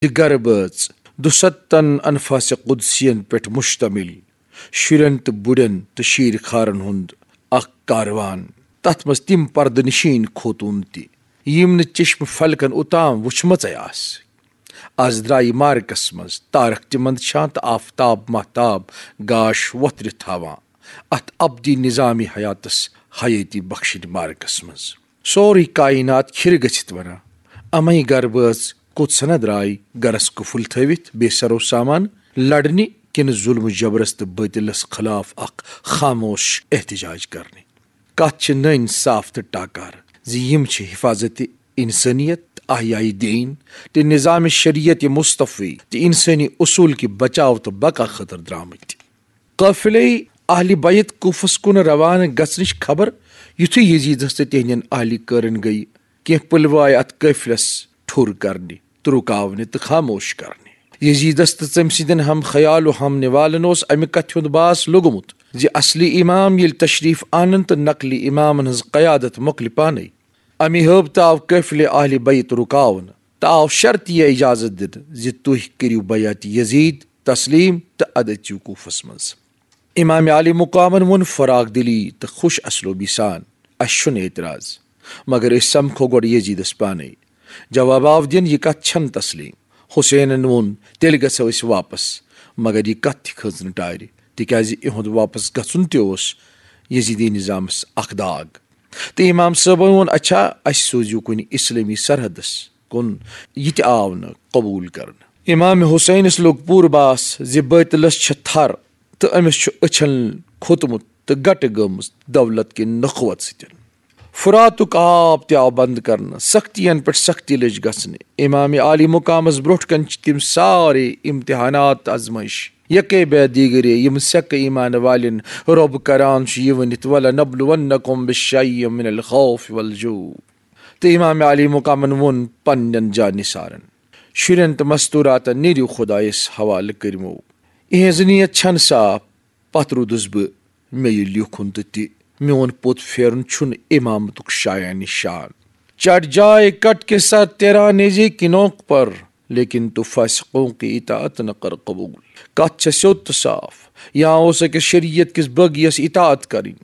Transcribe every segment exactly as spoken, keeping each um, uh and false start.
تہِ گرٕ بٲژ، دُستن انفاس قدسین پٮ۪ٹھ مشتمل، شُرٮ۪ن تہٕ بُڑٮ۪ن تہٕ شیٖرۍ خارن ہُنٛد اکھ کاروان۔ تتھ منٛز تِم پردٕ نشین خوتوٗن تہِ، یِم نہٕ چشم فلکن اوتام وُچھمژے آسہٕ۔ از درٛایہِ مارکس منٛز تارک تہِ مندچھان تہٕ آفتاب مہتاب گاش وۄتھرِ تھاوان۔ اتھ ابدی نظام حیاتس حیٲتی بخشنہِ مارکس منٛز سورُے کائنات کھِرِ گٔژھِتھ ونان، امے گرٕ بٲژ کوٚت سنا درٛاے، گرس قفل تھٲوِتھ بے سرو سامان لڑنہِ کِنہٕ ظلم جبرس تہٕ باطلس خلاف اکھ خاموش احتجاج کرنہِ؟ کتھ چھِ نٔنۍ صاف تہٕ ٹاکار زِ یِم چھِ حفاظت انسانیت، احیاء دین تہٕ نظام شریعت مصطفی تہٕ انسٲنی اصول کہِ بچاو تہٕ بقا خٲطرٕ درٛامٕتۍ۔ قٲفلے اہلِ بیت کوفس کُن روانہٕ گژھنٕچ خبر یُتھُے یزیدس تہٕ تِہنٛدٮ۪ن اہلِ کٲرن گٔیہِ، کینٛہہ پُلوایہِ اتھ قٲفلس ٹھوٚر کرنہِ تہٕ رُکاونہِ تہٕ خاموش کرنہِ۔ یزیدس تہٕ تٔمۍ سٕنٛدٮ۪ن ہم خیال و ہم نوالن اوس امہِ کتھِ ہُنٛد باس لوٚگمُت زِ اصلی امام ییٚلہِ تشریف انن تہٕ نقلی امامن ہٕنٛز قیادت مۄکلہِ پانے۔ امی ہٲبتہٕ آو قٲفلہِ اہلِ بیت رُکاونہٕ تہٕ آو شرطیہ اجازت دِنہٕ زِ تُہۍ کٔرِو بیعت یزید تسلیم تہٕ ادٕ أژِو کوفس منٛز۔ امام عالی مقامن ووٚن فراخ دلی تہٕ خوش اسلوبی سان، "اسہِ چھُنہٕ اعتراض، مگر أسۍ سمکھو گۄڈٕ یزیدس پانے۔" جواب آو دِنہٕ، "یہِ کتھ چھنہٕ تسلیم۔" حسینن ووٚن، "تیٚلہِ گژھو أسۍ واپس، مگر یہِ کتھ تہِ کھٔژ نہٕ ٹارِ، تِکیازِ یِہُنٛد واپس گژھُن تہِ اوس یزیدی نظامس اکھ داغ۔" تہٕ امام صٲبن ووٚن، "اچھا، اسہِ سوٗزِو کُنہِ اسلٲمی سرحدس کُن۔" یہِ تہِ آو نہٕ قبول کرنہٕ۔ امام حسینس لوٚگ پوٗرٕ باس زِ بٲطلس چھےٚ تھر تہٕ أمِس چھُ أچھن کھوٚتمُت تہٕ گٹہٕ گٔمٕژ دولت کہِ نخوت سۭتۍ۔ فراتُک آب تہِ آو بند کرنہٕ، سختین پٮ۪ٹھ سختی لٔج گژھنہِ۔ امام عالی مقامس برونٛٹھ کنہِ چھِ تِم سارے امتحانات تہٕ آزمٲیش یکے بعد دیگرے، یِم سیکہٕ ایمان والٮ۪ن رۄب کران چھُ یہِ ؤنِتھ، "ولنبلونکم بشیء من الخوف والجوع۔" تہٕ امام عالی مقامن ووٚن پننٮ۪ن جانثارن، شُرٮ۪ن تہٕ مستوراتن، "نیرِو خدایس حوالہٕ کٔرمو۔ اِہنٛز نیت چھنہٕ صاف، پتھ روٗدُس بہٕ، مےٚ یہِ لیوٚکھُن تہٕ تہِ میون پوٚت پھیرُن چھُنہٕ امامتُک شایان نشان۔ چٹ جائے کٹ کے ساتھ تیرا نیزے کی نوک پر، لیکن تو فاسقوں کی اطاعت نہ کر قبول۔" کتھ چھےٚ سیوٚد تہٕ صاف، یا اوس أکِس شریعت کِس بٲغیس اطاعت کرٕنۍ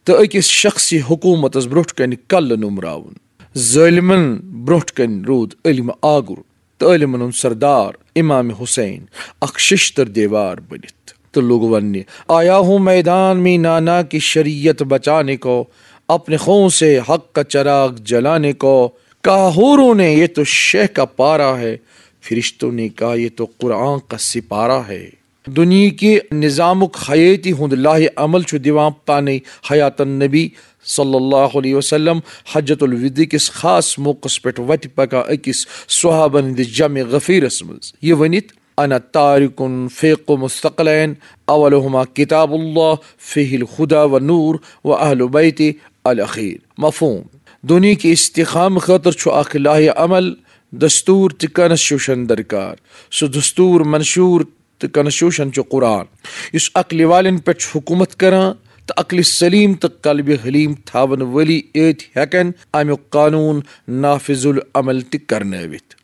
تہٕ أکِس شخصی حکومتس برونٛٹھ کنہِ کلہٕ نومراوُن۔ ظٲلمن برونٛٹھ کنہِ روٗد علم آگُر تہٕ علمن ہُنٛد سردار امام حسین اکھ ششتر دیوار بٔنِتھ تہٕ لوٚگ وننہِ، "آیا ہوں میدان میں نانا کی شریعت بچانے کو، اپنے خون سے حق کا چراغ جلانے کو، کہا حوروں نے یہ تو شیخ کا پارا ہے، فرشتوں نے کہا یہ تو قرآن کا سپارہ ہے۔" دُنیہٕکہِ نظامُک حیٲتی ہُنٛد لاہہِ عمل چھُ دِوان پانے حیات النبی صلی اللہ علیہ وسلم حجۃ الوداع کِس خاص موقعس پٮ۪ٹھ وتہِ پکان أکِس صحابن ہٕنٛدِس جمع غفیرس منٛز، یہِ ؤنِتھ، "انا تارکن فیقم الثقلین، اولہما کتاب اللہ فیہ الہدی و نور و اہل بیت الاخیر۔" مفہوم، دُنیہٕکہِ استحکام خٲطرٕ چھُ اکھ لاہہِ عمل، دستور تہٕ کانسٹیٹیوشن درکار۔ سُہ دستور منشور تہٕ کانسٹیٹیوشن چھُ قرآن، یُس عقلہِ والٮ۪ن پٮ۪ٹھ چھُ حکومت کران، تہٕ عقلہِ سلیم تہٕ قلبِ حلیم تھاون وٲلی یٲتۍ ہٮ۪کن امیُک قانون نافذ العمل تہِ کرنٲوِتھ۔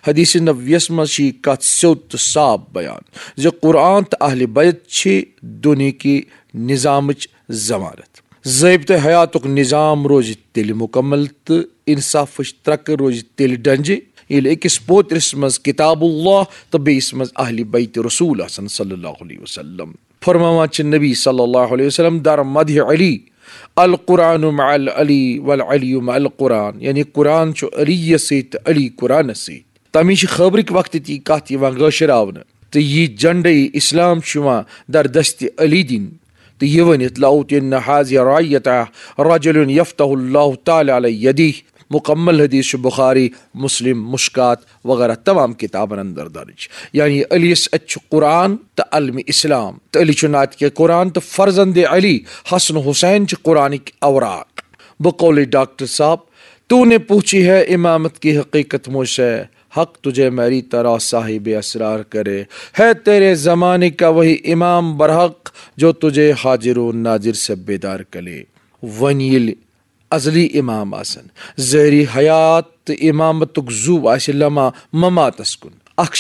حدیث نبویس منٛز چھِ یہِ کتھ سیوٚد تہٕ صاف بیان زِ قرآن تہٕ اہل بیت چھِ دُنیہٕکہِ نظامٕچ ضمانت۔ ضٲبطہٕ حیاتُک نظام روزِ تیٚلہِ مُکمل تہٕ انصافٕچ ترکہٕ روزِ تیٚلہِ ڈنجہِ، ییٚلہِ أکِس پوترِس منٛز کتاب اللہ تہٕ بیٚیِس منٛز اہل بیت رسول آسن صلی اللہ علیہ وسلم۔ فرماوان چھِ نبی صلی اللہ علیہ وسلم در مدح علی، "القرآن مع العلی والعلی مع القرآن"، یعنی قرآن چھُ علی یس سۭتۍ تہٕ علی قرآنس سۭتۍ۔ تَمِچ خٲبرٕکۍ وقتہٕ تہِ یہِ کَتھ یِوان گٲشراونہٕ تہٕ یہِ جنڈے اسلام چھُ یِوان در دست علی دِنہٕ تہٕ یہِ ؤنِتھ، "لأوتین هذه الرعیة رجل یفتح اللہ تعالی علی یدیہ"۔ مکمل حدیث چھُ بخاری، مسلم، مشکات وغیرہ تمام کتابن اندر درج۔ یعنی علی یس اتھِ چھُ قرآن تہٕ علم اسلام، تہٕ علی چھُ ناطق قرآن تہٕ فرزند علی حسن حسین چھِ قرآنٕکۍ اوراق۔ بقول ڈاکٹر صاحب، تو نے پوچھی ہے امامت کی حقیقت مجھ سے، حق تجھے میری طرح صاحب اسرار کرے، ہے تیرے زمانے کا وہی امام برحق جو تجھے حاضر و ناظر سے بیدار کرے۔ وۄنۍ ییٚلہِ ازلی امام آسن، ظٲہری حیات تہٕ امامتُک زُو آسہِ لمحہ مماتس کُن،